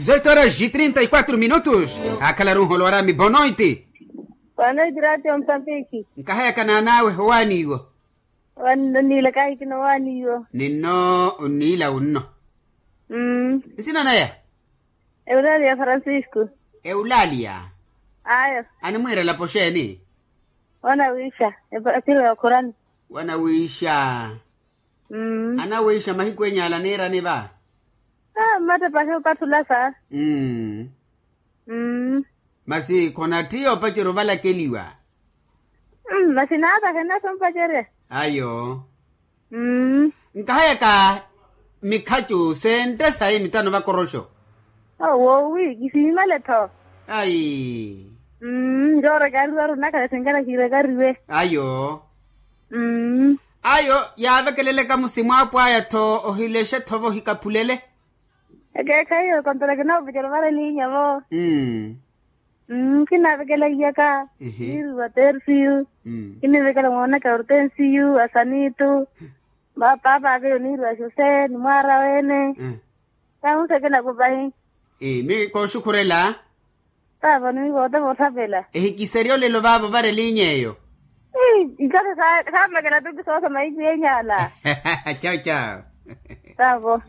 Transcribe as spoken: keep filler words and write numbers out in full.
Zoito horas e trinta e quatro minutos. Akhalaru nholo arami bonoiti. Bonoiti ratio mpapiki. Nkahayaka naan'awe owaani iwo. Owaani nno niila kahikina owaani iwo. Ninno onniila wunno. Nsina naya? Eulalia francisco. Eulalia. Ayo. Animwiira elapo xeeni? Wanawiixa. Epasiro ya okhurani. Wanawiixa. Anawiixa mahiku enya ala niirani va? Mmattepahi opattula sa. Masi khonattiya opacerya ovalakeliwa? Masi naatakhena sompacerya. Ayo. Nkahayaka mikhacu sentte sayi mitano vakoroxo. Woowi kisiimale-tho. Ayi. Njoorekariwa arunakhale sinkana kiirekariwe. Ayo. Ayo yaavekeleleka musi mwaapwaya-tho ohilexe-tho-vo ohikaphulele. Ekeekhayi kontola kinaavekela ovara eliinya-vo. Kinaavekelahiyaka. Niiriwa tersiyu. Kiniivekela moonaka hortensiyu asanitu. Paapa aka yoniiriwa jose ni mwaara wene. Kahunseke nakupahi. Mi kooxukhurela. Taavo niwikote voothapela. Ehikiserya olelo vaavo vara elinya eyo. Ikasi saamekela tuki soosa mahiku yenyala. Chao chao. Taavo.